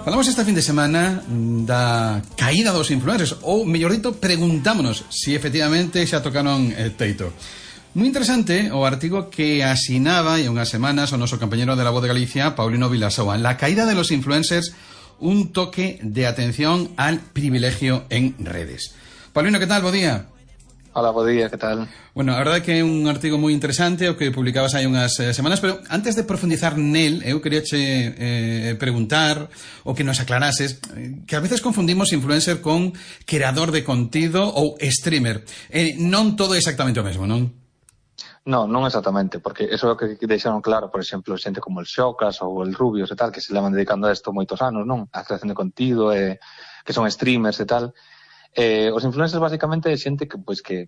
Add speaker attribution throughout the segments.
Speaker 1: Falamos esta fin de semana da caída dos influencers, ou, mellor dito, preguntámonos se efectivamente xa tocaron el teito. Moi interesante o artigo que asinaba hai unhas semanas o noso compañero de La Voz de Galicia, Paulino Vilasoa. La caída de los influencers, un toque de atención al privilegio en redes. Paulino, que tal? Bo día.
Speaker 2: Hola, bo día, que tal?
Speaker 1: Bueno, a verdade é que é un artigo moi interesante o que publicabas hai unhas semanas, pero antes de profundizar nel, eu quería preguntar o que nos aclarases que a veces confundimos influencer con creador de contido ou streamer. Non todo é exactamente o mesmo, non?
Speaker 2: Non exactamente, porque eso é o que deixaron claro, por exemplo, xente como el Xocas ou el Rubios e tal, que se levan dedicando a isto moitos anos, non? A creación de contido, que son streamers e tal. Os influencers basicamente é xente que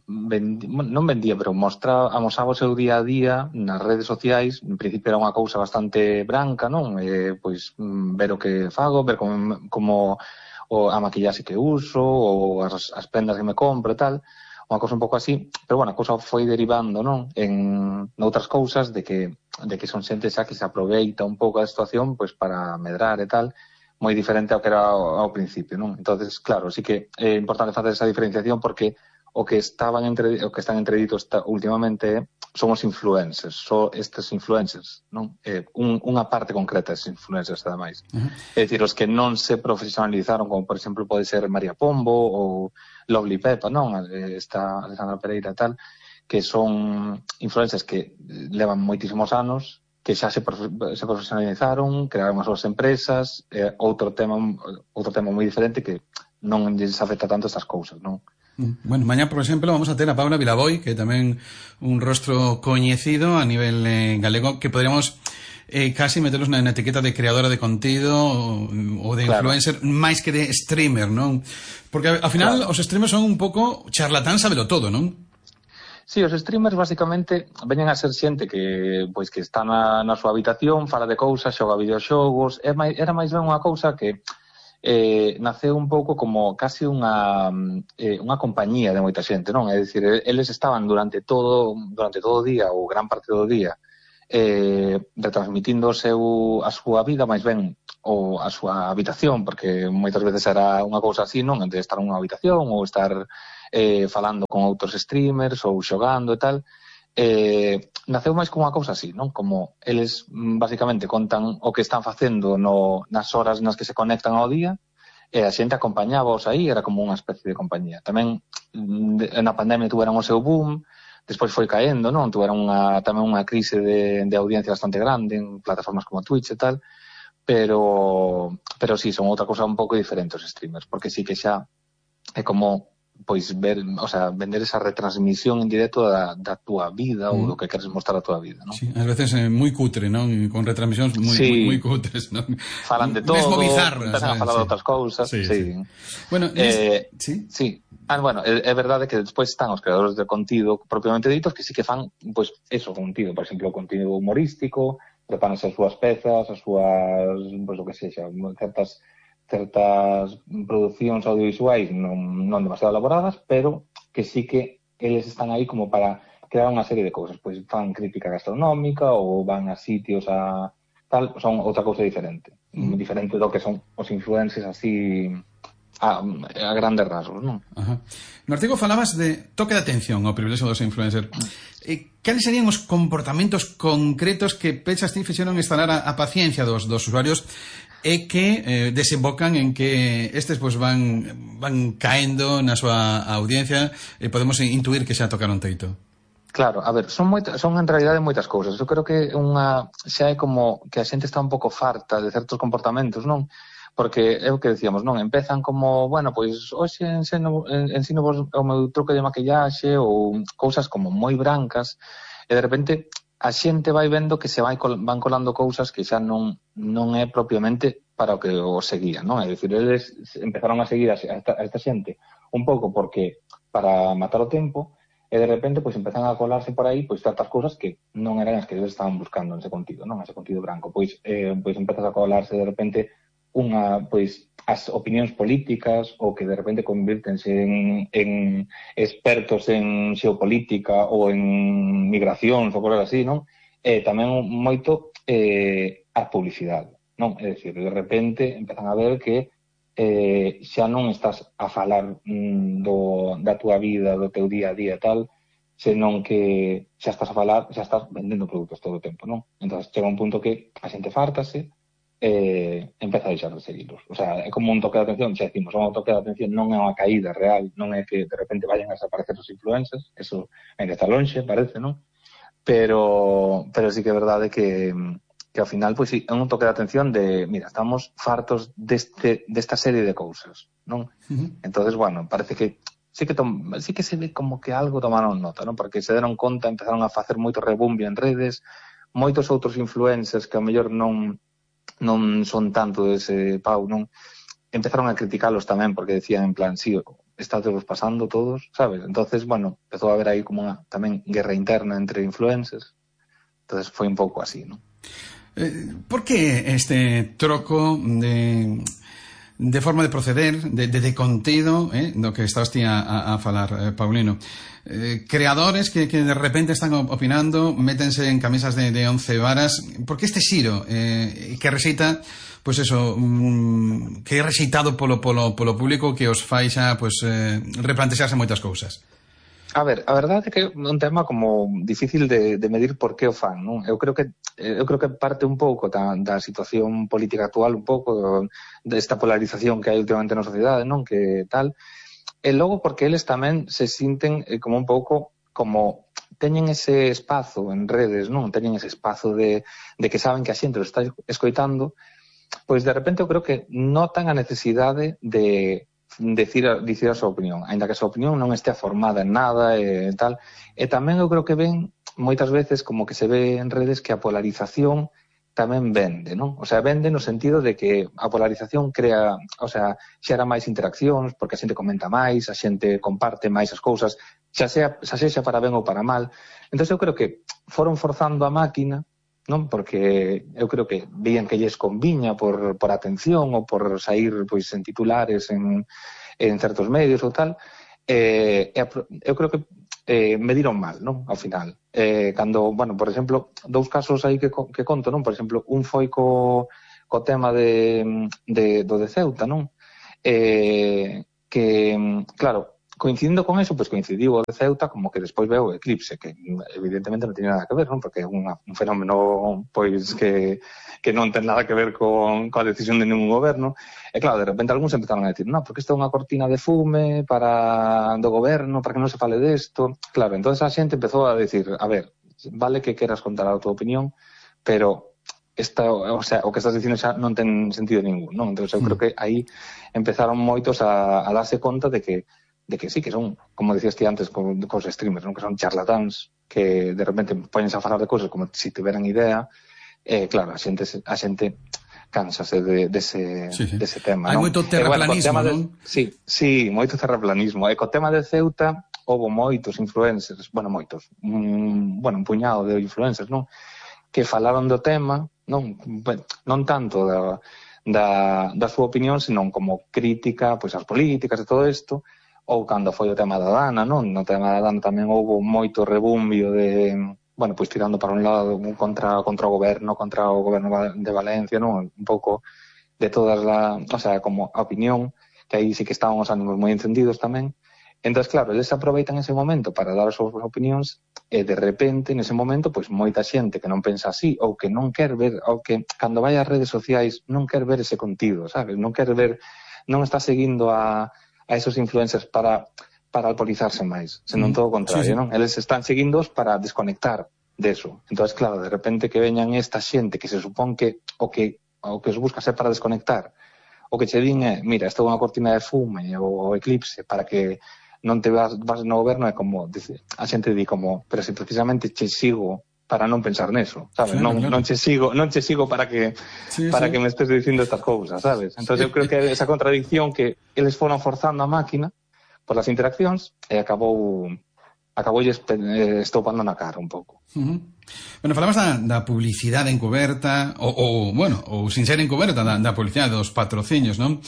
Speaker 2: non vendía, pero amosaba o seu día a día nas redes sociais. En principio era unha cousa bastante branca, non? Ver o que fago, ver como a maquillaxe que uso ou as prendas que me compro e tal, unha cousa un pouco así, pero bueno, a cousa foi derivando, non? En outras cousas de que son xente xa que se aproveita un pouco da situación pois para medrar e tal, moi diferente ao que era ao principio, non? Entonces, claro, sí que é importante facer esa diferenciación porque o que están entreditos últimamente son os influencers, estes influencers, non? Unha parte concreta destes influencers, ademais. É dicir, os que non se profesionalizaron, como por exemplo pode ser María Pombo ou Lovely Pepa, non? Esta Alexandra Pereira e tal, que son influencers que levan moitísimos anos, que xa se profesionalizaron, crearon as súas empresas, outro tema moi diferente que non lles afecta tanto estas cousas, non?
Speaker 1: Bueno, mañá, por exemplo, vamos a ter a Paula Vilaboi, que é tamén un rostro coñecido a nivel galego, que poderíamos casi meterlos na etiqueta de creadora de contido ou de influencer, máis que de streamer, non? Porque ao final os streamers son un pouco charlatán sabelo todo, non?
Speaker 2: Sí, os streamers basicamente veñen a ser xente que está na súa habitación, fala de cousas, xoga videoxogos. Era máis ben unha cousa que naceu un pouco como casi unha compañía de moita xente, non? É dicir, eles estaban durante todo o día ou gran parte do día retransmitindo a súa vida, máis ben a súa habitación, porque moitas veces era unha cousa así, non? De estar nunha habitación ou estar falando con outros streamers ou xogando e tal. Naceu máis como unha cousa así, non? Como eles basicamente contan o que están facendo nas horas nas que se conectan ao día, e a xente acompañábaos aí, era como unha especie de compañía. Tamén na pandemia tuveron o seu boom, despois foi caendo, non? Tuveron tamén unha crise de audiencia bastante grande en plataformas como Twitch e tal, pero sí, son outra cousa un pouco diferente os streamers, porque sí que xa é como vender esa retransmisión en directo da túa vida ou do que queres mostrar a túa vida, non?
Speaker 1: Sí, ás veces é moi cutre, non? Con retransmisións moi cutres, non?
Speaker 2: Falan de todo,
Speaker 1: mesmo bizarras,
Speaker 2: empezan a falar de outras cousas. Sí.
Speaker 1: Bueno,
Speaker 2: sí. Bueno, é verdade que despois están os creadores de contido propiamente ditos que sí que fan, contido, por exemplo, contido humorístico, preparan as súas pezas, as súas, o que sexa, certas producións audiovisuais non demasiado elaboradas, pero que sí que eles están aí como para crear unha serie de cousas, pois fan crítica gastronómica ou van a sitios a tal, son outra cousa diferente, diferente do que son os influencers así a grandes rasgos, non?
Speaker 1: No artigo falabas de toque de atención ao privilexio dos influencers. Cales serían os comportamentos concretos que pensas ti fixeron instalar a paciencia dos usuarios e que desembocan en que estes van caendo na súa audiencia e podemos intuir que xa tocaron teito?
Speaker 2: Claro, a ver, son en realidade moitas cousas. Eu creo que xa é como que a xente está un pouco farta de certos comportamentos, non? Porque é o que decíamos, non? Empezan como, hoxe ensino vos o meu truque de maquillaxe ou cousas como moi brancas e de repente a xente vai vendo que se van colando cousas que xa non é propiamente para o que o seguían, non? É dicir, eles empezaron a seguir a esta xente un pouco porque para matar o tempo e de repente empezan a colarse por aí certas cousas que non eran as que eles estaban buscando en ese contido, non? Ese contido branco. Empezas a colarse de repente as opinións políticas ou que de repente convírtense en expertos en xeopolítica ou en migracións ou cosas así, non? Tamén moito a publicidade. non? É dicir, de repente empezan a ver que xa non estás a falar da túa vida, do teu día a día e tal, senón que xa estás a falar, xa estás vendendo produtos todo o tempo, non? Entón, chega un punto que a xente fártase empeza a deixar de seguirlos. O sea, é como un toque de atención, xa decimos, un toque de atención non é unha caída real, non é que de repente vayan a desaparecer os influencers, eso ainda está lonxe, parece, non? Pero sí que é verdade que ao final, pois sí, é un toque de atención de, mira, estamos fartos desta serie de cousas, non? Entonces, bueno, parece que sí que se ve como que algo tomaron nota, non? Porque se deron conta, empezaron a facer moito rebumbio en redes, moitos outros influencers que ao mellor non son tanto dese pau, non? Empezaron a criticalos tamén, porque decían en plan, sí, estátevos pasando todos, sabes? Entonces, bueno, empezou a haber aí como unha tamén guerra interna entre influencers. Entonces foi un pouco así, non?
Speaker 1: Por que este troco de forma de proceder, de contido, do que estás ti a falar, Paulino? Creadores que de repente están opinando, métense en camisas de 11 varas. Por que este xiro que rexeita, pois eso, que é rexeitado polo público, que os fai xa, pois, replantexarse moitas cousas?
Speaker 2: A ver, a verdade é que é un tema como difícil de medir por que o fan, non? Eu creo que parte un pouco da situación política actual, un pouco desta polarización que hai últimamente na sociedade, non? Que tal. E logo porque eles tamén se sinten como un pouco como teñen ese espazo en redes, non? Teñen ese espazo de que saben que a xente o está escoitando, pois de repente eu creo que notan a necesidade de dicir a súa opinión, aínda que a súa opinión non estea formada en nada e tal. E tamén eu creo que ven moitas veces como que se ve en redes que a polarización tamén vende, non? O sea, vende no sentido de que a polarización crea, o sea, xera máis interaccións, porque a xente comenta máis, a xente comparte máis as cousas, xa sexa para ben ou para mal. Entón eu creo que foron forzando a máquina, non? Porque eu creo que vían que lles conviña por atención ou por sair pois en titulares en certos medios ou tal, eu creo que mediron mal, non? Ao final. Cando, bueno, por exemplo, dous casos aí que conto, non? Por exemplo, un foi co tema do de Ceuta, non? Que, claro, coincidindo con eso, pois coincidiu o de Ceuta como que despois veo o eclipse, que evidentemente non tiene nada que ver, non? Porque é un fenómeno pois que non ten nada que ver coa decisión de ningún goberno. E claro, de repente algúns empezaron a decir, non, porque isto é unha cortina de fume do goberno, para que non se fale desto. Claro, entonces a xente empezou a decir, a ver, vale que queras contar a tua opinión, pero o sea, o que estás dicindo xa non ten sentido ningún, non? Entón eu creo que aí empezaron moitos a darse conta de que sí, que son, como decías ti antes, cos streamers, non? Que son charlatáns, que de repente poñense a falar de cousas como se tiveran idea. Claro, a xente cánsase dese tema,
Speaker 1: hai
Speaker 2: non?
Speaker 1: moito terraplanismo, non?
Speaker 2: Sí, moito terraplanismo. E co tema de Ceuta houve moitos influencers, un puñado de influencers, non? Que falaron do tema, non tanto da súa opinión, senón como crítica pois ás políticas e todo isto. Ou cando foi o tema da Dana, non? No tema da Dana tamén houve moito rebumbio de, bueno, pois tirando para un lado contra o goberno de Valencia, non? Un pouco de todas o sea, como a opinión, que aí sí que estaban os ánimos moi encendidos tamén. Entón, claro, eles aproveitan ese momento para dar as súas opinións e de repente, nese momento, pois moita xente que non pensa así ou que non quer ver, ou que cando vai ás redes sociais non quer ver ese contido, sabes? Non quer ver, non está seguindo a esos influencers para alcoholizarse máis, senón todo o contrario, non? Eles están seguindos para desconectar deso. Entón, claro, de repente que veñan esta xente que se supón que o que os busca ser para desconectar, o que che din é, mira, isto é unha cortina de fume ou eclipse para que non te vas no goberno, é como, a xente di como, pero se precisamente che sigo para non pensar neso, sabes? Claro, non che sigo para que me estés dicindo estas cousas, sabes? Entón eu creo que esa contradicción que eles foron forzando a máquina por as interaccións e acabou estopando na cara un pouco.
Speaker 1: Bueno, falamos da publicidade encoberta ou sin ser encoberta, da publicidade dos patrocinios, non?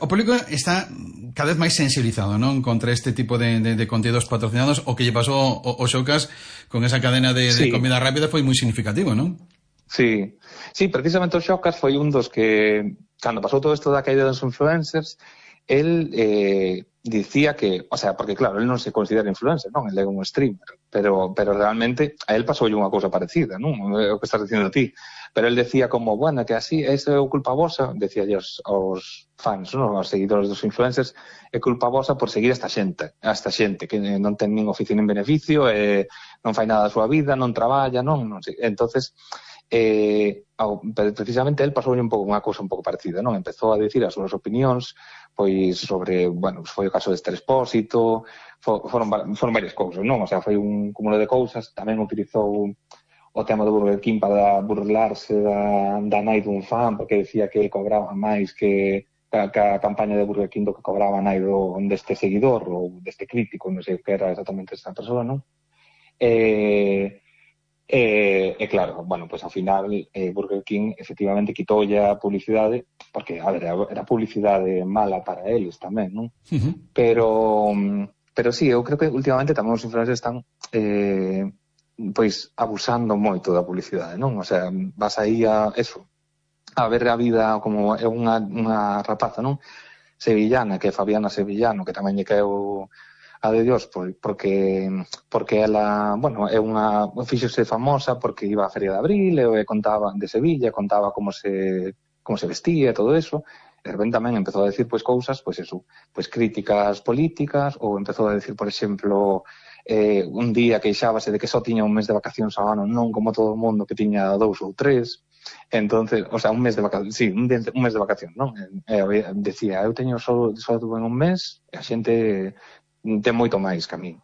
Speaker 1: O público está cada vez máis sensibilizado, non? Contra este tipo de contidos patrocinados. O que lle pasou o Xocas con esa cadena de comida rápida foi moi significativo, non?
Speaker 2: Sí, sí, precisamente o Xocas foi un dos que, cando pasou todo isto da caída dos influencers, el dicía que, o sea, porque claro, el non se considera influencer, non? El é un streamer, pero realmente a él pasoulle unha cousa parecida, non? É o que estás dicindo ti. Pero el decía como, bueno, que así, isto é culpa vosa, decía aos fans, non? Aos seguidores dos influencers, é culpa vosa por seguir esta xente que non ten nin oficio nin beneficio, non fai nada da súa vida, non traballa, non sei. Entonces, precisamente el pasou un pouco unha cousa un pouco parecida, non? Empezou a dicir as súas opinións, pois sobre, bueno, foi o caso de Esther Expósito, foron varias cousas, non? O sea, foi un cúmulo de cousas, tamén utilizou o tema do Burger King para burlarse da nai dun fan, porque decía que cobraba máis que a campaña de Burger King do que cobraba a nai deste seguidor ou deste crítico, non sei o que era exactamente esa persoa, non? Claro, bueno, pues ao final Burger King efectivamente quitoulle a publicidade, porque, a ver, era publicidade mala para eles tamén, non?
Speaker 1: Uh-huh.
Speaker 2: Pero sí, eu creo que últimamente tamén os influencers están pois abusando moito da publicidade, non? O sea, vas aí a eso, a ver a vida como é unha rapaza, non? Sevillana, que é Fabiana Sevillano, que tamén lle caeu a de Dios, porque ela, bueno, é fíxose famosa porque iba á Feria de Abril e contaba de Sevilla, contaba como se vestía e todo eso, e de repente tamén empezou a decir pois cousas, pois eso, pois críticas políticas, ou empezou a decir, por exemplo, un día queixábase de que só tiña un mes de vacacións ao ano, non como todo o mundo que tiña 2 ou 3. Entonces, o sea, un mes de vacacións, sí, un mes de vacacións, non? Decía, eu teño só tuve un mes, e a xente ten moito máis que a mí.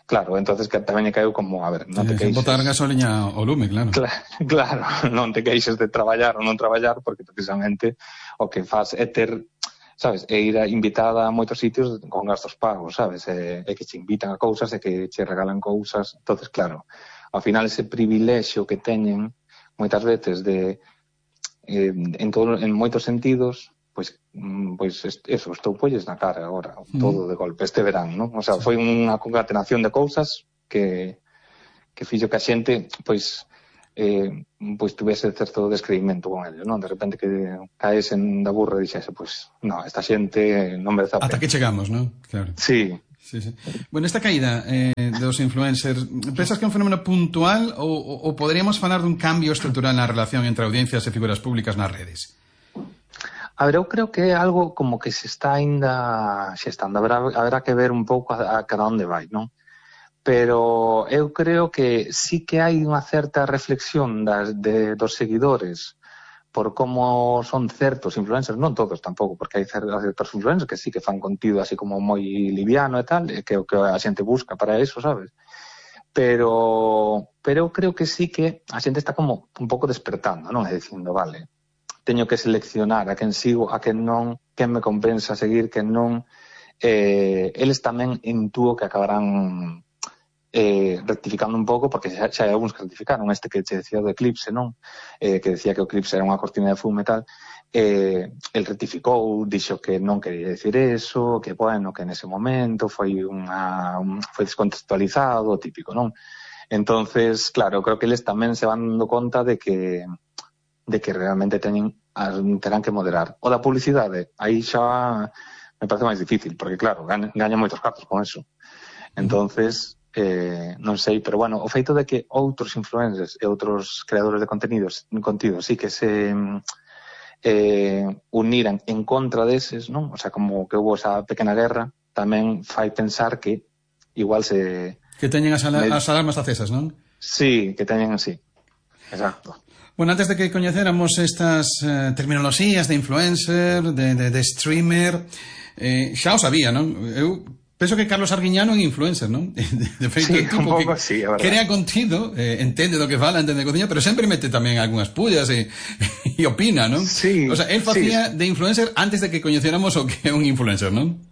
Speaker 2: Claro, entonces que tamén lle caeu como, a ver, non te queixes.
Speaker 1: Botar gasoliña ao lume, claro.
Speaker 2: Claro, non te queixes de traballar ou non traballar, porque precisamente o que faz é ter, sabes, é ir invitada a moitos sitios con gastos pagos, sabes, é que che invitan a cousas e que che regalan cousas. Entonces, claro, ao final ese privilexio que teñen moitas veces de en moitos sentidos, pois eso, estou polles na cara agora, todo de golpe, este verán, non? O sea, foi unha concatenación de cousas que fixo que a xente, pois tuvese certo descreimento con ellos, non? De repente que caesen da burra e dixese, pois, non, esta xente non merece a pena.
Speaker 1: Ata que chegamos, non? Claro.
Speaker 2: Sí.
Speaker 1: Bueno, esta caída dos influencers, pensas que é un fenómeno puntual ou poderíamos falar dun cambio estrutural na relación entre audiencias e figuras públicas nas redes?
Speaker 2: A ver, eu creo que é algo como que se está ainda xestando. Haberá que ver un pouco a cada onde vai, non? Pero eu creo que sí que hai unha certa reflexión dos seguidores por como son certos influencers, non todos tampouco, porque hai certos influencers que sí que fan contido así como moi liviano e tal, que é o que a xente busca para eso, sabes? Pero eu creo que sí que a xente está como un pouco despertando, non? E dicindo, vale, teño que seleccionar a quen sigo, a quen non, quen me compensa seguir, quen non. Eles tamén intúo que acabarán rectificando un pouco, porque xa hai algúns que rectificaron, este que che decía do eclipse, non? Que decía que o eclipse era unha cortina de fume e tal. El rectificou, dixo que non quería decir eso, que bueno, que nese momento foi descontextualizado, típico, non? Entonces, claro, creo que eles tamén se van dando conta de que realmente terán que moderar. O da publicidade, aí xa me parece máis difícil, porque claro, gaña moitos cartos con eso. Entonces, non sei, pero bueno, o feito de que outros influencers e outros creadores de contido sí que se uniran en contra deses, non? O sea, como que houve esa pequena guerra, tamén fai pensar que igual se...
Speaker 1: Que teñen as alarmas acesas, non?
Speaker 2: Sí, que teñen así. Exacto.
Speaker 1: Bueno, antes de que coñecéramos estas terminoloxías de influencer, de streamer, xa o sabía, non? Eu penso que Carlos Arguiñano é influencer, non? De feito,
Speaker 2: sí, un pouco así, a verdade.
Speaker 1: Crea contido, entende do que fala, entende de cociña, pero sempre mete tamén algunhas pullas e opina, non?
Speaker 2: Sí.
Speaker 1: O sea, él facía de influencer antes de que coñecéramos o que é un influencer, non?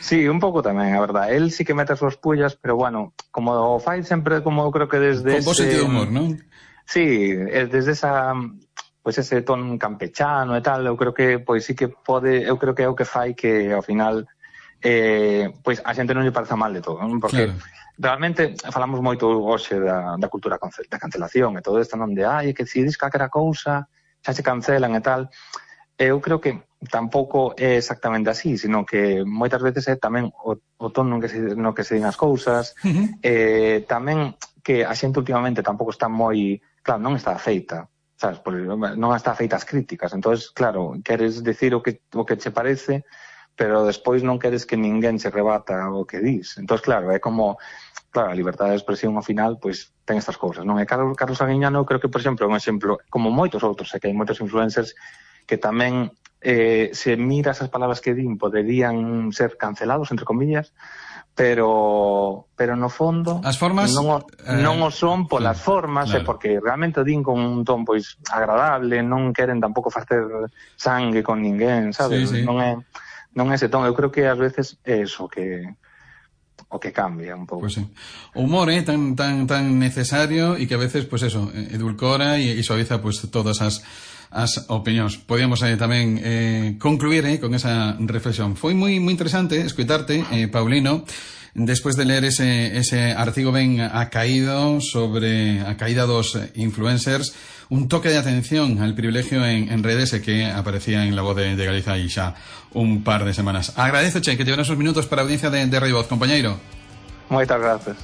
Speaker 2: Sí, un pouco tamén, a verdade. Él sí que mete as súas pullas, pero bueno, como o fai sempre, como eu creo que desde
Speaker 1: con vos sentido de humor, non?
Speaker 2: Sí, desde ese ton campechano e tal, eu creo que pois sí que pode, eu creo que é o que fai que ao final pois a xente non lle parece mal de todo, non? Porque realmente falamos moito hoxe da cultura da cancelación e todo isto, non? De, é que se dis calquera cousa xa se cancelan e tal. Eu creo que tampouco é exactamente así, sino que moitas veces é tamén o tono no que se din as cousas, tamén que a xente últimamente tampouco está moi, claro, non está feita, sabes, non está feita as críticas, entonces, claro, queres decir o que che parece, pero despois non queres que ninguén se rebata o que dis. Entonces, claro, é como, claro, a liberdade de expresión ao final, pois, ten estas cousas, non? E Carlos Aguiñano, creo que, por exemplo, é un exemplo, como moitos outros, que hai moitos influencers que tamén, se miras as palabras que din, poderían ser cancelados, entre comillas, pero no fondo
Speaker 1: as formas
Speaker 2: non o son polas formas, claro. Porque realmente din con un ton pois agradable, non queren tampouco facer sangue con ninguén, sabes? Sí. Non é ese ton, eu creo que ás veces é eso o que cambia un pouco.
Speaker 1: Pues sí. O humor tan necesario e que a veces, pues eso, edulcora e suaviza pues todas as opinións. Podíamos tamén concluir con esa reflexión. Foi moi interesante escuitarte, Paulino, despois de ler ese artigo ben acaído sobre a caída dos influencers, un toque de atención al privilegio en redes que aparecía en La Voz de Galicia aí xa un par de semanas. Agradezoche que te unos minutos para a audiencia de Radio Voz, compañeiro.
Speaker 2: Moitas gracias.